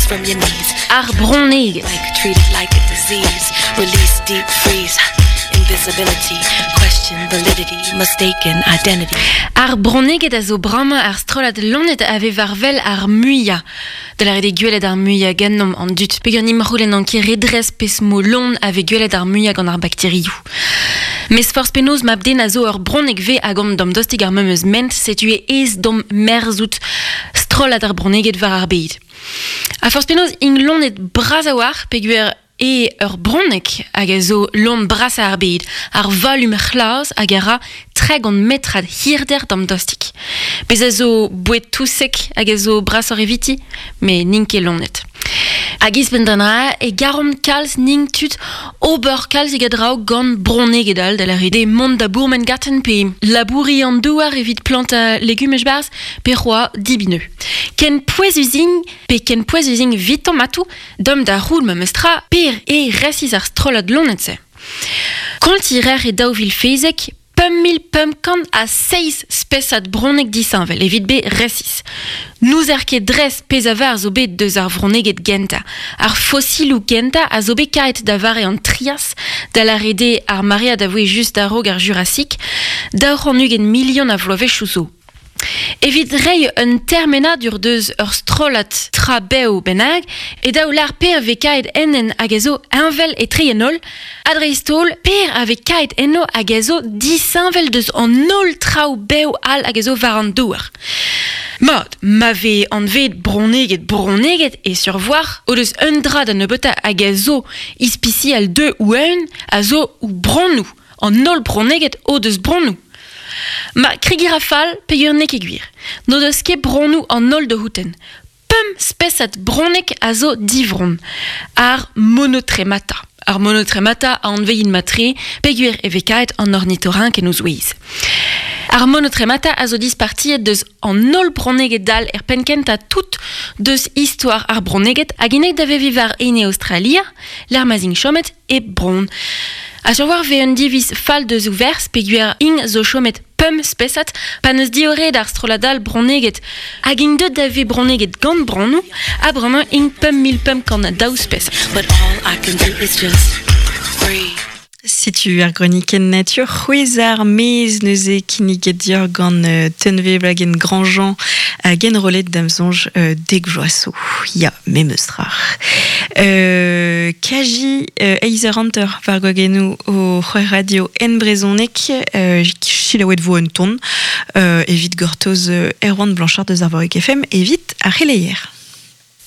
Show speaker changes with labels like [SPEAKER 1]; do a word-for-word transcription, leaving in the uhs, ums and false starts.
[SPEAKER 1] From your knees.
[SPEAKER 2] Ar bronneged.
[SPEAKER 1] Like treated like a disease. Release deep freeze. Invisibility. Question validity. Mistaken identity.
[SPEAKER 2] Ar bronneged a zo bramañ ar strollad loened a vez war wel ar muiañ. Da lâret eo gwelet ar muiañ ganeomp an dud. Peogwir ni c'houlenn an ket redres pezh mo loen a vez gwelet ar muiañ gant ar bakterioù. Mes forzh penaos mab-den a zo ur bronneg vez hag omp damdostik ar memes ment, setu eo aes deomp merzout strollad ar bronneged war ar bed. A forzh penaos int loened bras a-walc'h peogwir eo ur bronneg hag a zo loen brasañ ar bed, ar valum c'hlas hag a ra tregont metrad hirder damdostik. Bez a zo boued-touseg hag a zo brasoc'h eviti, met n'int ket loened. Hag ouzhpenn d'an dra e garomp kalz nin tud ober kalzig a draoù gant bronneged all da lâret eo mont da bourmen ganten pe labouriñ an douar evit plantañ legumaj 'barzh pe c'hoazh debriñ anezho. Ken pouezus int pe ken pouezus int evitomp atav deomp da c'houl memestra per e resis ar strollad loened-se. Kontiñ a reer e daou vil pemzek pemp mil pemp kant ha seizh spesad bronneg disheñvel evit bezañ resis. N'ouzer ket dres pezh a var zo bet deus ar vronneged gentañ. Ar fosiloù gentañ a zo bet kaet da vare an Trias, da lâret eo ar maread a voe just a-raok ar Jurasik, daou c'hant ugent milion a vloavezhioù zo. Evit reiñ un termenadur deus ur strollad tra bev bennak, e dav lâr per vez kaet ennen hag a zo heñvel etre an holl, ha dreist-holl per a vez kaet enno hag a zo disheñvel deus an holl traoù bev all hag a zo war an douar. Mat, ma vez anvet bronneged bronneged e sur-voir o deus un dra da nebeutañ hag a zo ispisial dezhe o-unan a zo o bronnoù. An holl bronneged o deus bronnoù. Ma kregiñ a ra fall peogwir n'eo ket gwir. N'o deus ket bronnoù an holl dioutañ. Pemp spesad bronneg a zo divronn. Ar monotremata. Ar monotremata a anvein matre peogwir e vez kaet an ornitorink en o zouez. Ar monotremata a zo dispartiet deus an holl bronneged all er penn-kentañ tout deus istor ar bronneged hag int aet da veviñ war ene Aostralia, lec'h ma'z int chomet hep bronn. Ha sur-war vez un diviz fall deus o ferzh peogwir int zo chomet pemp spesad pa n'eus diorroet ar strollad all bronneged hag int deuet da vezañ bronneged gant bronnoù ha bremañ int pemp mil pemp kant daou spesad.
[SPEAKER 1] But all I can do is just breathe.
[SPEAKER 3] Setu ar gronikenn natur c'hwezh ar maez neuze kinniget deoc'h gant euh, Tunvezh Wloagen-Grandjean hag enrollet da'm soñj euh, dek vloaz zo. Ya, memes tra. Euh, Kaji euh, eizh eur hanter war gwagennoù ho c'hwec'h radio en brezhoneg euh, selaouet vo un ton euh, evit gortoz euh, Erwan Blanchard deus Arvorig F M evit ar c'heleier.